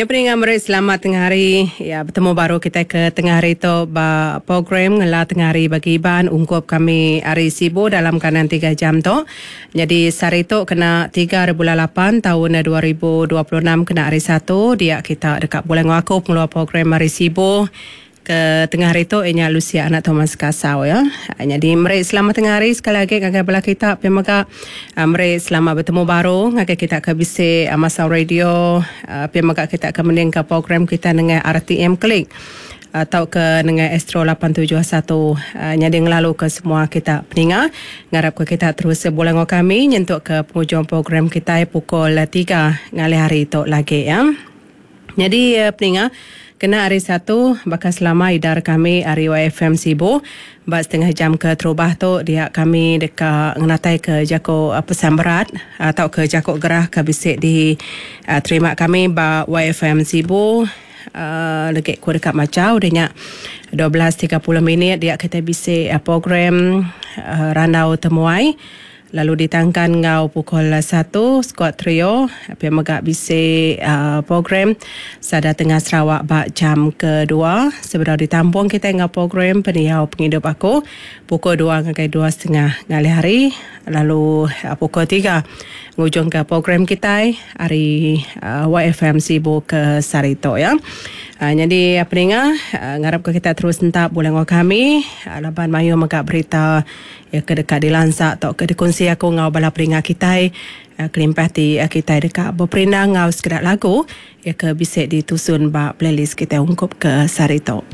Ya peninga meri selamat tengah hari. Ya betemu baru kitai ke tengah hari tu ba program ngela tengah hari bagi Iban ungkup kami ari Sibu dalam kandang tiga jam tu. Nyadi sehari tu kena tiga hari bulan lapan taun 2026 kena hari Satu dia kita deka begulai enggau aku pengeluar program ari Sibu. Ke tengah hari tu iya nya Lucia anak Thomas Kasau ya. Nyadi meri selamat tengah hari sekali agi ngagai bala kita pia mega meri selamat betemu baru ngagai kita ke bisi masau radio pia mega kita ke mendingka program kita nengah RTM Klik tauka nengah Astro 871 nyadi ngelaluka semua kita peninga ngarapka kita terus begulai enggau kami nyentuk ke pengujung program kitai pukul tiga ngalih hari tu lagi ya. Nyadi peninga, kena hari Satu baka selama idar kami ari YFM Sibu ba setengah jam ke terubah tu dia kami deka ngenataika jaku pesan berat tauka jaku gerah ke bisi di terima kami ba YFM Sibu legi ku deka macha udah nya 12.30 minit dia kitai bisi program randau temuai. Lalu ditangkan enggau pukul satu skuad trio pia mega bisi program Sada Tengah Sarawak ba jam kedua sebedau ditampung kitai enggau program Pendiau Pengidup Aku pukul dua ngagai dua setengah ngalih hari lalu pukul tiga ngujungka program kitai ari YFM Sibu ke sehari tu ya. Nyadi peninga ngarapka kita terus entap bulih enggau kami laban mayuh mega berita Iya ke deka dilansa tauka dikunsi aku enggau bala peninga kitai kelimpah ti kitai deka beperindang enggau sekeda lagu iya ke bisi ditusun ba playlist kitai ungkup ke sehari tu.